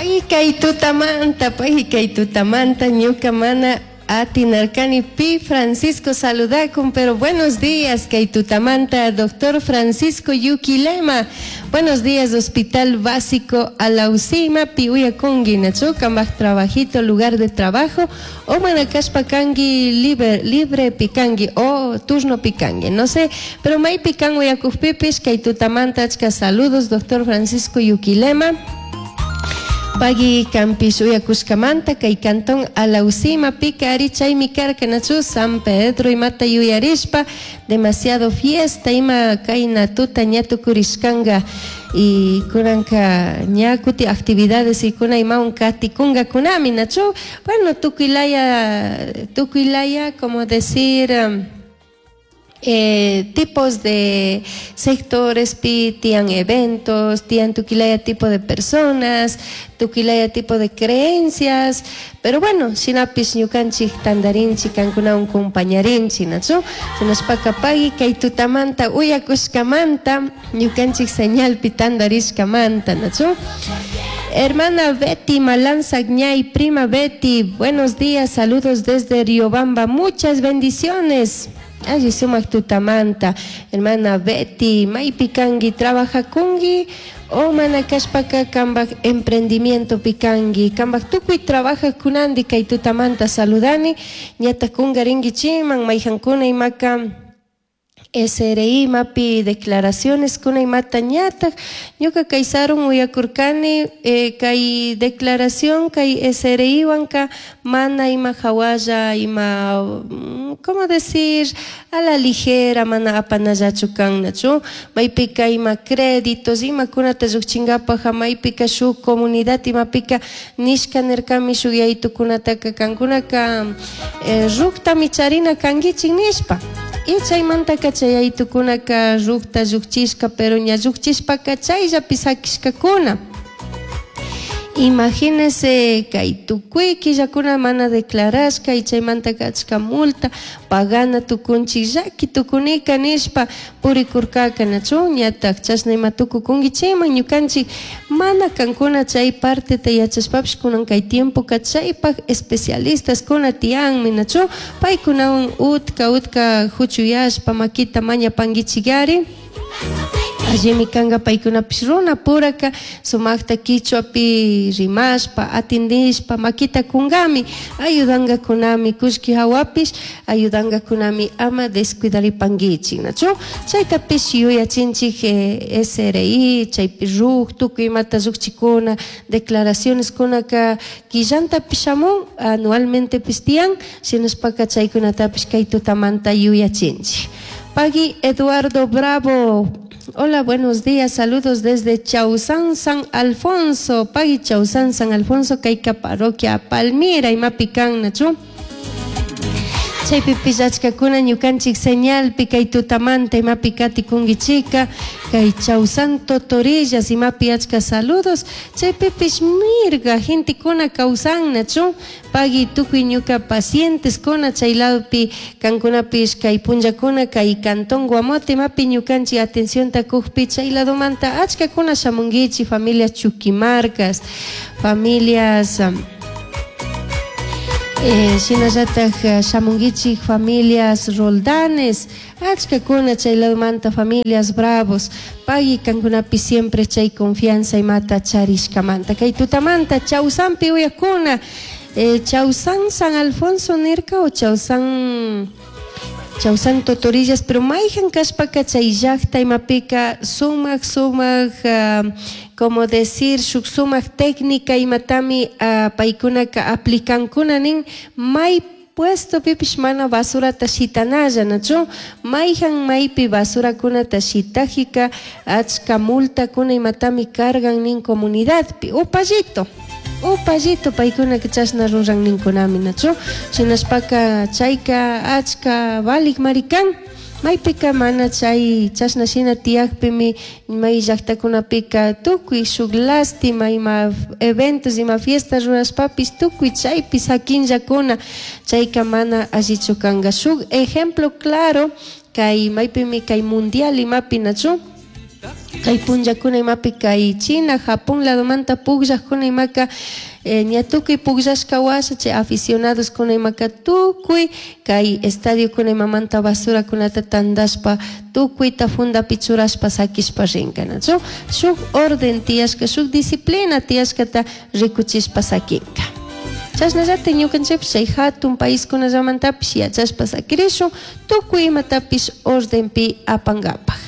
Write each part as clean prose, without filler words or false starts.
Pagui kay tutamanta, pagui kay tutamanta, ñuka mana atinarkani pi Francisco saludakun, pero buenos días kay tutamanta, doctor Francisco Yuquilema. Buenos días, Hospital Básico Alausima, pi uyakungi, nachu, kambaj trabajito, lugar de trabajo, o mana kashpa kangi libre, libre pikangi, o turno pikangi, no sé, pero maypi kan uyakujpipish, kay tutamanta achka saludos, doctor Francisco Yuquilema. Pagui kampish uyakushkamanta kay cantón Alausima pika ari chaymi karka nachu San Pedro imata yuyarishpa demasiado fiesta ima kayna tuta ña tukurishkanga y kunanka ña kuti actividades y kuna imawan katikungakunami nachu bueno tukuylaya tukuylaya como decir tipos de sectores pi tian eventos, tian tukilaya tipo de personas, tukilaya tipo de creencias, pero bueno, shinapish ñukanchik tandarinchik, kankunawan compañarinchik, nachu? Shinashpaka pagui kay tutamanta uyakushkamanta, ñukanchik señalpi tandarishkamanta, nachu? Hermana Betty Malanzagñay, prima Betty, buenos días, saludos desde Riobamba, muchas bendiciones. Alli sumak tutamanta, hermana Betty, maypi kangi trabajakungi o mana kashpaka kambaj emprendimiento pikangi, kambaj tukuy trabajakunandi kay tutamanta saludani, ñata kungarinkichiman mayjankuna imaka SRI mapi declaraciones kuna imata ñataj ñuka kay sarun uyakurkani kay declaración kay SRI wanka mana ima hawalla ima ¿cómo decir? A la ligera mana apanallachu kan nachu maypika ima créditos imakunata llukchinkapaj maypika shuk comunidad imapika nishka nirkami shuk yaytukunataka kankunaka ruktami charina kankichik nishpa y chaymantaka chay yaytukunaka rukta llukchishka pero ña llukchishpaka chayllapi sakishkakuna. Imagínese kay tukuy killakuna mana declarashka y chaymantaka achka multa pagana tukunchik llaki tukunika nishpa purikurkaka nachu ñatak chashna ima tukukunkichikman ñukanchik mana kankuna chay parteta yachashpapish kunan kay tiempoka chaypak especialistas kuna tiyanmi nachu paykunawan utka utka huchuyashpa makita mañapankichikari. Allimi kanka paykunapish runa puraka sumakta kichwapi rimashpa atindishpa makita kunkami ayudankakunami kullki hawapish ayudankakunami ama descuidaripankichik nachu chaytapish yuyachinchik SRI chaypi RUC tukuy imata llukchikuna declaraciones kunaka killantapish shamun anualmentepish tiyan shinashpaka chaykunatapish kay tutamanta yuyachinchik. Pagui Eduardo Bravo. Hola, buenos días, saludos desde Chausán, San Alfonso. Pagui Chausán, San Alfonso, kayka parroquia Palmira, imapi kan, nachu. Chaypi pillachkakuna ñukanchik señalpi kay tutamanta imapi katikunkichika kay Chausán Totorillas imapi achka saludos chaypipish mirga gentekuna kawsan nachu pagui tukuy ñuka pacientes kuna chay ladopi kankunapish kay punllakuna kay cantón Guamote imapi ñukanchik atencionta kukpi chay ladomanta achkakuna shamunkichik familias Chuquimarcas familias shinallatak shamunkichik familias Roldanes achkakuna chay ladomanta familias Bravos pagui kankunapi siempre chay confianza imata charishkamanta kay tutamanta Chausanpi uyakuna Chausán San Alfonso nirka o Chausán Chausán Totorillas pero mayjan kashpaka chay llakta imapika sumak sumak como decir shuk sumak técnica imatami paykunaka aplikankuna nin may puesto pipish mana basurata shitanalla nachu mayjan maypi basurakunata shitajika achka multakuna imatami cargan nin comunidadpi upallito upallito paykunaka chashna ruran ninkunami nachu shinashpaka chayka achka valik marikan maypika mana chay chashna shina tiyakpimi may llaktakunapika tukuy shuk lástima ima eventos ima fiestas rurashpapish tukuy chaypi sakinllakuna chayka mana allichu kanka shuk ejemplo claro kay maypimi kay mundial imapi nachu. Kay punllakuna imapi kay China, Japón ladomanta pugllajkuna imaka ña tukuy pugllashka washa chay aficionadoskuna imaka tukuy kay estadiokuna imamanta basurakunata tandashpa tukuyta fundapi churashpa sakishpa rinka, nachu? Shuk orden tiyashka, shuk disciplina tiyashkata rikuchishpa sakinka. Chashnallatik ñukanchikpish chay hatun paiskunallamantapish yachashpa sakirishun tukuy imatapish ordenpi apankapak.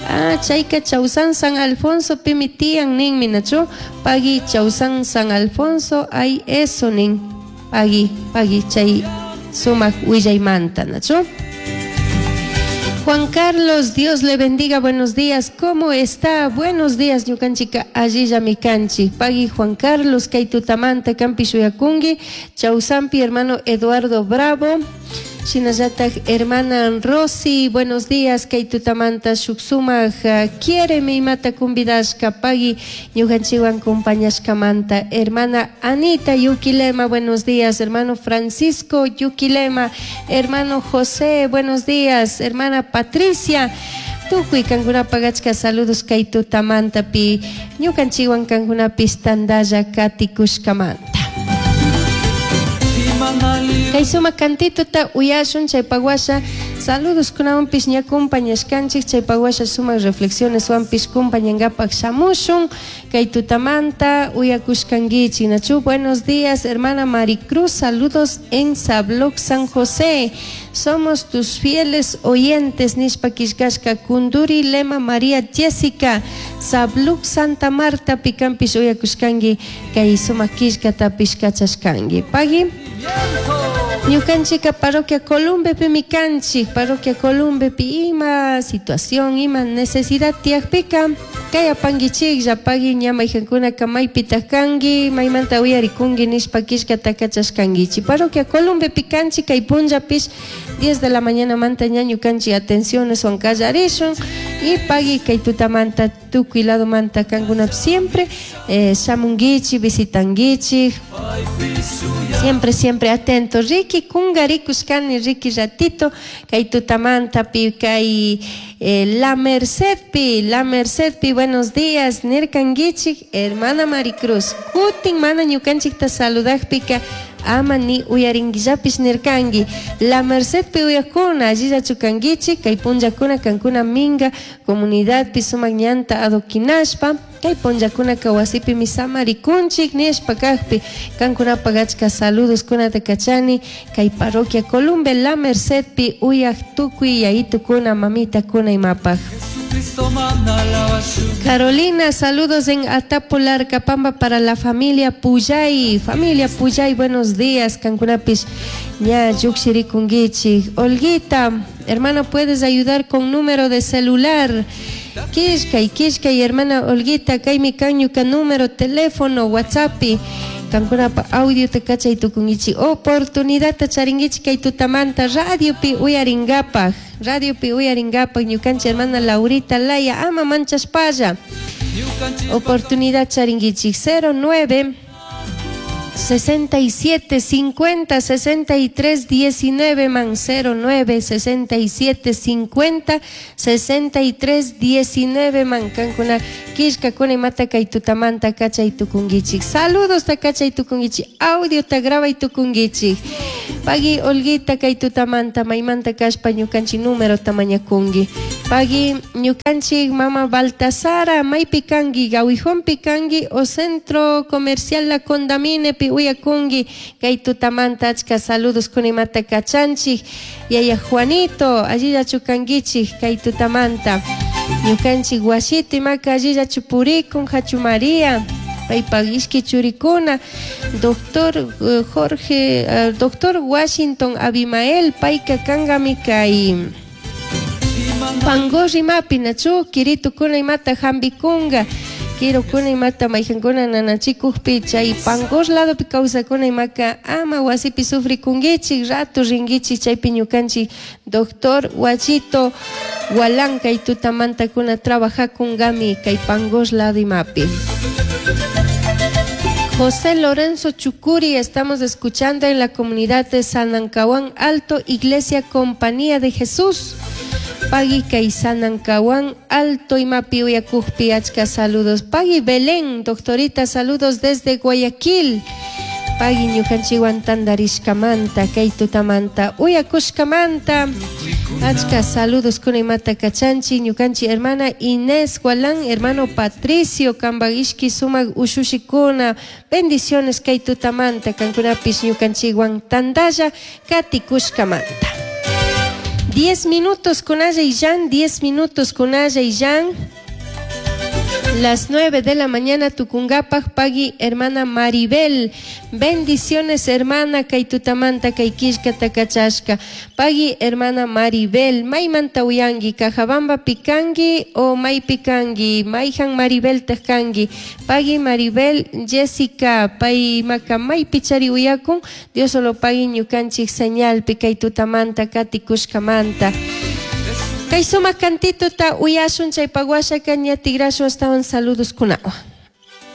Ah, chayka Chausan San Alfonso pimi tiyan ninmi, nachu? Pagui Chausan San Alfonso, ay eso nin. Pagui, pagui chay sumak willaymanta, nachu? Juan Carlos, Dios le bendiga, buenos días. ¿Cómo está? Buenos días, ñukanchika allillami kanchik. Pagui Juan Carlos, kay tutamanta kanpish uyakunki, Chausampi hermano Eduardo Bravo. Shinallatak hermana Rosy, buenos días, kay tutamanta shuk sumak quiéreme imata convidashka, pagui ñukanchikwan compañashkamanta. Hermana Anita Yuquilema, buenos días. Hermano Francisco Yuquilema, hermano José, buenos días. Hermana Patricia, tukuy kankunapak achka saludos kay tutamantapi ñukanchikwan kankunapish tandalla katikushkamanta. Kay sumak cantitota uyashun chaypak washa saludos kunawanpish ña compañashkanchik chaypak washa sumak reflexioneswanpish compañankapak shamushun kay tutamanta uyakushkankichik, nachu? Buenos días, hermana Maricruz, saludos en Sabloc San José. Somos tus fieles oyentes, nishpa killkashka Kunduri Lema María Jessica, Sabluc Santa Marta pikanpish uyakushkanki kay sumak killkatapish kachashkanki. Pagui. Ñukanchika parroquia Columbepimi kanchik, parroquia Columbepi ima situación, ima necesidad tiyakpika kay apankichiklla, pagui ña mayjankunaka maypitak kanki, maymanta uyarikunki nishpa killkata kachashkankichik. Parroquia Columbepi kanchik kay punllapish 10 de la mañana manta ña ñukanchik atencioneswan kallarishun y pagui kay tutamanta tukuy ladomanta kankunapish siempre shamunkichik, visitankichik. Siempre, siempre atento. Ricky kungarikushkani, Ricky ratito, kay tutamantapi, kay La Mercedpi, La Mercedpi, buenos días, nirkankichik, hermana Maricruz. Kutin mana ñukanchikta saludakpika, ama ni uyarinkillapish nirkanki. La Mercedpi uyakuna, allillachu kankichik, kay punllakuna kankuna minga, comunidadpi sumak ñanta adoquinashpa, kay punllakunaka wasipimi samarikunchik nishpa kakpi, kankunapak achka saludos kunata kachani, kay parroquia Columbe La Mercedpi uyak tukuy yayitukuna mamitakuna imapak. Carolina, saludos en Atapularcapamba para la familia Puyay. Familia Puyay, buenos días. Kankunapis ña llukshirikunkichik. Olguita, hermana, ¿puedes ayudar con número de celular? Kishkay, kishkay, hermana Olguita, kaymi kan ñuka número, teléfono, WhatsApp. Kankunapa audio te kachay tukunkichik. Oportunidad charinkichik kay tutamanta radiopi uyarinkapak. Radiopi uyarinkapak ñukanchik hermana Laurita Laya, ama manchashpalla. Oportunidad charinkichik 09 67 50 63 19 man 09 67 50 63 19 man kankuna killkakuna imata kay tutamanta kachay tukunkichik. Saludos ta kachay tukunkichik, audio ta grabay tukunkichik. Pagui Olguita kay tutamanta maymanta kashpa ñukanchik número ta mañakunki. Pagui ñukanchik mama Baltasara maypi kanki, Gawijonpi kanki o Centro Comercial La Condamine pi uyakunki kay tutamanta achka saludos kunimata kachanchik. Yaya Juanito allillachu kankichik kay tutamanta. Ñukanchik wasito imaka allillachu purikun Hachu María paypak ishki churikuna doctor Jorge doctor Washington Abimael payka kankami kay Pangor imapi nachu kiritukuna imata hampikunka kirukuna imata mayjankuna nanachikukpi chay Pangor ladopi kawsakuna imaka ama wasipi sufrikunkichik rato rinkichik chaypi ñukanchik doctor Wachito Gualán kay tutamantakuna trabajakunkami kay Pangor lado imapi. José Lorenzo Chucuri, estamos escuchando en la comunidad de San Ancahuán Alto, Iglesia Compañía de Jesús. Pagui kay Sanancahuán Alto imapi uyakujpi achka saludos. Pagui Belén, doctorita, saludos desde Guayaquil. Pagui ñukanchikwan tantarishkamanta, kay tutamanta, uyakushkamanta. Achka saludos kuna imata kachanchik, ñukanchik hermana Inés Gualán, hermano Patricio, kambak ishki sumak ushushikuna. Bendiciones kay tutamanta, kankunapish ñukanchikwan tantalla katikushkamanta. 10 minutos kunalla illan, 10 minutos kunalla illan. Las 9 de la mañana tucungapaj pagui hermana Maribel. Bendiciones hermana kay tutamanta kay killka takachashka. Pagui hermana Maribel. Maymanta uyangi Cajabamba pikangi o maypi kangi mayjan Maribel kangi. Pagui Maribel Jessica pay maka maypi chari uyakun. Dios solo pagui ñukanchik señalpi kay tutamanta katikushkamanta. Kay sumak cantituta uyashun chaypak washaka ña tigrashun astawan saludos kunawan.